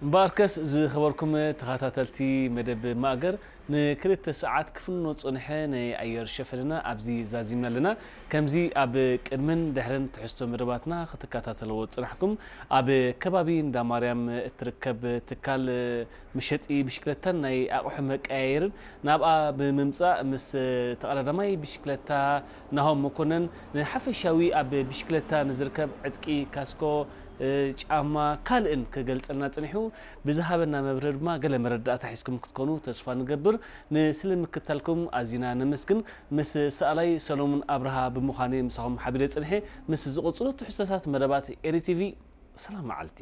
እምበኣርከስ ዝኸበርኩም ተኸታተልቲ መደብ ማእገር፣ ንክልተ ሰዓት ክፍኖ ዝጸንሐ ናይ ኣየር ሸፈንና ኣብዚ ዛዚምና ኣለና። ከምዚ ኣብ ቅድምን ድሕርን ትሕዝቶ መደባትና ክትከታተልዎ ዝጸናሕኩም፣ ኣብ ከባቢ እንዳ ማርያም እትርከብ ትካል መሸጢ ብሽክለታን ናይ ኣቑሑ መቀያየርን ናብኣ ብምምጻእ ምስ ተቐዳዳማይ ብሽክለታ ናሆም መኮነን ንሓፈሻዊ ኣብ ብሽክለታ ንዝርከብ ዕጥቂ፣ ካስኮ፣ እ፣ ጫማ፣ ካልእን ክገልጸልና ጽኒሑ። ብዝሃበና መብርሂ ድማ ገለ መረዳእታ ሒዝኩም ክትኮኑ ተስፋ ንገብር። ንስለ ምክታልኩም ኣዚና ነመስግን። ምስ ሰኣላይ ሰሎሙን ኣብርሃ ብምዃነ ምሳኹም ሓቢረ ጽንሐ። ምስ ዝቕጽሉ ትሕዝቶታት መደባት ኤሪ ቲቪ፣ ሰላም መዓልቲ።